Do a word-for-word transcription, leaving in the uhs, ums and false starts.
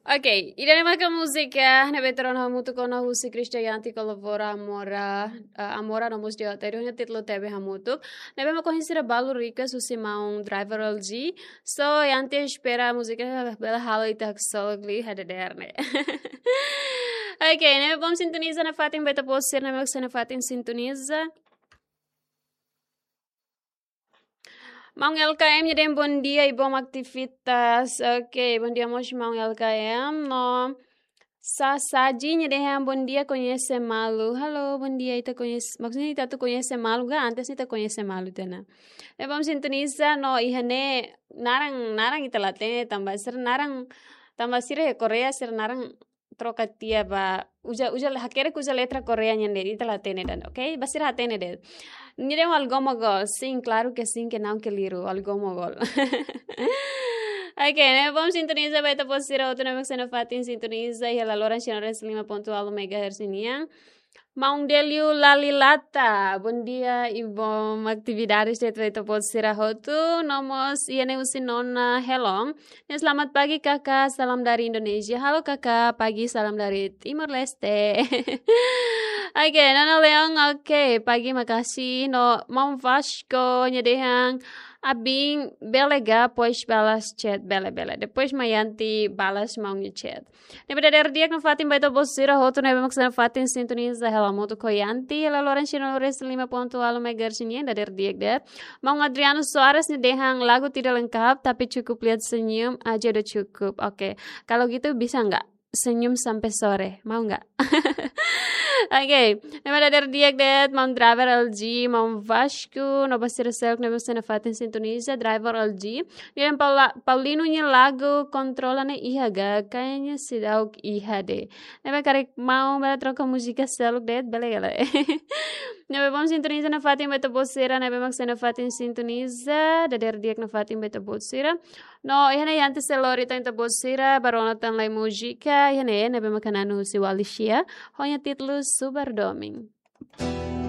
Ok, ida-ne'e maka múzika ne'ebé troka hamutuk ona husi Christian Yanti kolabora Amora, eh, Amora no mós J T, ida-ne'e títulu Tebe Hamutuk. Ne'ebé mak ohin sira balu request husi maun Driver L G. So, Yanti espera múzika bele halo ita haksolok liu hadeer ne'e. Ok, ne'ebé bom sintoniza nafatin ba ita-boot sira ne'ebé mak sei nafatin sintoniza. Maun L K M nia dehan bom dia i bom atividade. Ok, bom dia mós maun L K M. No Sasaji nia dehan bom dia, koñese malu. Halo, bom dia, ita koñese, maksudnya ita atu koñese malu ka? Antes ita koñese malu tiha ona. Ne'ebé bom sintoniza no iha ne'e naran, naran ita la hatene tanba sira naran, tanba sira Korea sira naran troka tiha ba uza, uza, hakerek uza letra Korea nian de'it, ita la hatene ida-ne'e, ok? Ba sira hatene de'it. Nia dehan Algoma Gol. Sim, claro que sim, que não, que liru. Algoma Gol. Ok, ne'ebé bom sintoniza ba ita-boot sira hotu ne'ebé mak sei nafatin sintoniza iha laloran cem e nove vírgula cinco megahertz nian. Maun Delio Lalilata, bom dia i bom atividade ba ita-boot sira hotu. No mós iha ne'e husi Nona Helong. Selamat pagi kakak, salam dari Indonesia. Halo kakak, pagi, salam dari Timor Leste. Ok, Nona Leon, ok, pagi, makasih. No maun Vasco nia dehan, abin bele ga depois balas chat, bele, bele. Depois mak Yanti balas maun nia chat. Ne'ebé dadeer di'ak nafatin ba ita-boot sira hotu ne'ebé mak sei nafatin sintoniza hela moto ko Yanti, hela loran cem e nove vírgula cinco megahertz nian, dadeer di'ak de'it. Maun Adriano Soares nia dehan lagu tidak lengkap, tapi cukup lihat senyum aja udah cukup. Oke, kalau gitu bisa nggak senyum sampai sore? Mau nggak? Oke, ne'ebé dadeer di'ak de'it, maun Driver L G, maun Vasco, no ba sira seluk ne'ebé mak sei nafatin sintoniza, Driver L G. Nia dehan Paula-, Paulino nia lagu Kontrola ne'e iha ga, kayaknya seidauk iha de'it. Ne'ebé karik maun bele troka múzika seluk de'it, bele ka lae? Ne'ebé bom sintoniza nafatin ba ita-boot sira ne'ebé mak sei nafatin sintoniza, dadeer di'ak nafatin ba ita-boot sira. No iha ne'e Yanti sei lori tan ita-boot sira ba rona tan lai múzika, iha ne'e ne'ebé mak hanesan husi Walisha, ho nia títulu Subar Domin.